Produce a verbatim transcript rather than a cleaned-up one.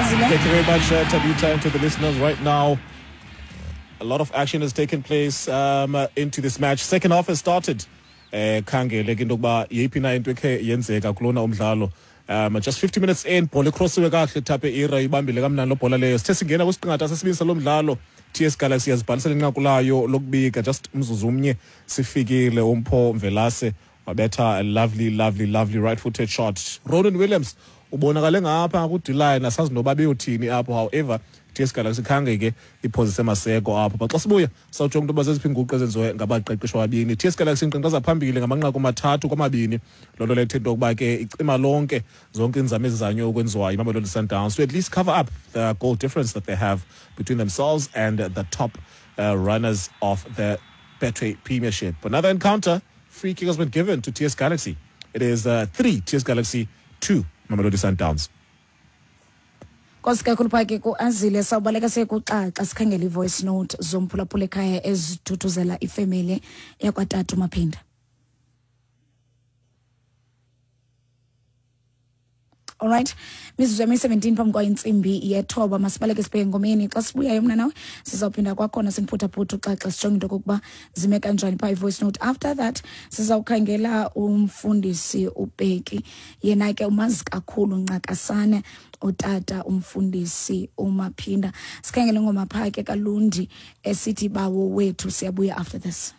Azile. Thank you very much, uh, Tabitha, and to the listeners right now. A lot of action has taken place um, uh, into this match. Second half has started. Eh, khangele ke into yokuba yeyiphi na into ekhe yenzeka kulona umdlalo. Um, just fifty minutes in, bhola icrossiwe kakuhle, Thape Ira ibambile kamnandi loo bhola leyo. Sithe singena kwisiqingatha sesibini salo mdlalo, T S Galaxy yazibhalisela inqaku layo lokubika. Just umzuzu umnye sifikile, uMpho Mvelase wabetha a lovely, lovely, lovely right footed shot. Ronan Williams ubonakale ngapha ku-D-line, asazi noba beyothini apho. However, T S Galaxy khange ke iphozise maseko apho. But xa sibuya sawujonga into yoba zeziphi iinguqu ezenziwe ngabaqeqeshwa ababini. T S Galaxy inkqenkqeza phambili ngamanqaku amathathu kwamabini. Loo nto leyo ithetha into yokuba ke icima lonke zonke iinzame ezizanywe ukwenziwa yiMamelodi Sundowns to at least cover up the goal difference that they have between themselves and the top uh, runners of the Betway Premiership. Another encounter, free kick has been given to T S Galaxy. It is uh, three T S Galaxy, two Mamelodi Sundowns. Nkosi kakhulu phaa ke kuAzile. Sawubaleka sekuxaxa sikhangela i-voice note zomphulaphula ekhaya ezithuthuzela ifemeli yakwatata uMaphinda. Alright, mizuzu yami-seventeen phambi kwayo intsimbi yethoba. Masibaleke sibheke engomeni. Xa sibuyayo mna nawe sizawuphinda kwakhona simphuthaphutha uxaxa, sijonge into okokuba zime kanjani phaa i-voice note. After that sizawukhangela umfundisi uBheki, yena ke umazi kakhulu ncakasane utata umfundisi uMaphinda. Sikhangele ingoma phaa ke kaLundi esithi Bawo Wethu. Siyabuya after this.